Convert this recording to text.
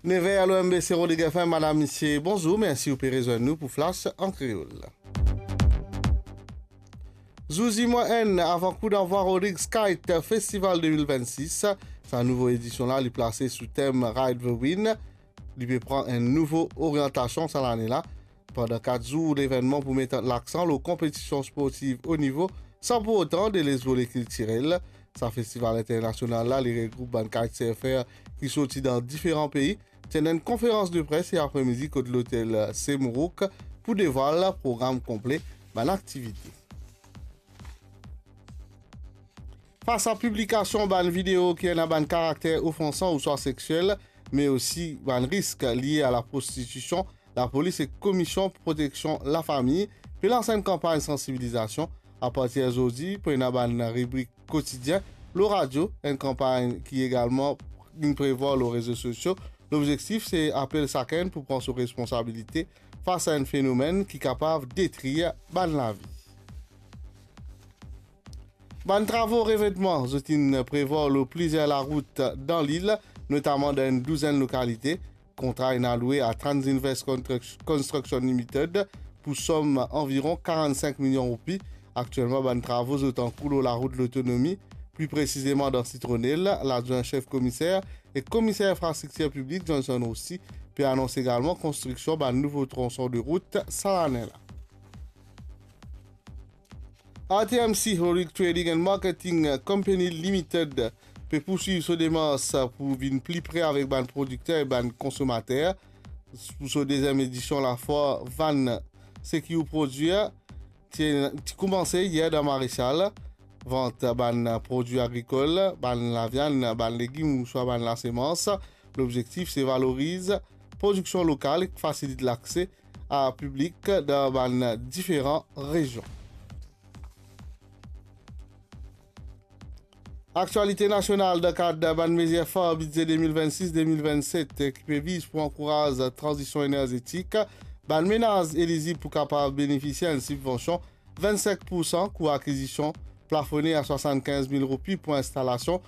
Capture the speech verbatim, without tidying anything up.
Nev er, lor MBC Rodrigues F M, madam, misie, bonzour, mersi ou pe rezwenn nou pou Flash an Kreol. Zour zimwa enn, avan kou danvwa Rodrigues Kite Festival de mil vennsis. Sa nouvo edision la, li plase sou tem Ride the Wind. Li pe pran enn nouvo oryantasion sa lane la. Pandan kat zour, levennman pou met laksan lor konpetision sportiv o nivo, san pou otan deles vole kiltirel. Sa festival internasional la, li regroup bann kitesurfer ki sorti dan diferan pei. Ti ena enn konferans de pres e apremidi kot lotel Semourok pou devwal program konple bann aktivite. Fas a piblikasion bann video ki ena bann karakter ofansan ouswa sexiel, me osi bann risk lie a laprostitisyon, lapolis ek Komisyon Proteksion Lafami pe lans enn kanpagn sansibilizasion. Apartir zordi, pou ena bann ribrik kotidien lor radio, enn kanpagn ki egalman inn prevwar lor rezo sosio. Lobzektif se apel sakenn pou pran so responsabilite fas a enn fenomenn ki kapav detrir bann lavi. Bann travo revètman zot inn prevwar lor plizier larout dan lil, notaman dan enn douzenn lokalite. Kontra inn aloue a Transinvest Construct-, Construction Limited pou som anviron karannsink milion roupi. Aktielman, bann travo zot ankour lor larout Lotonomi, pli presizeman dan Sitronel. Ladwin sef komiser ek komiser infrastriktir piblik Johnson Roussy pe anons egalman konstriksion bann nouvo tronson de rout sa lane la. R T M C, Rodrigues Trading and Marketing Company Limited, pe pourswiv so demars pou vinn pli pre avek bann prodikter e bann konsomater. Pou so deziem edision lafwar Vann seki ou prodwir, ti, ti koumanse yer dan Maresal. Vant bann prodwi agrikol, bann laviann, bann legim ouswa bann lasemans. Lobzektif se valoriz prodiksion lokal ek fasilit lakse a piblik dan bann diferan rezion. Aktialite nasional dan kad bann mezir far bidze de mil vennsis de mil vennset ki pe viz pou ankouraz tranzision enerzetik. Bann menaz elizib pou kapav benefisie enn sibvansion vennsink poursan kou akizision plafone a swasannkinz mil roupi pou instalasion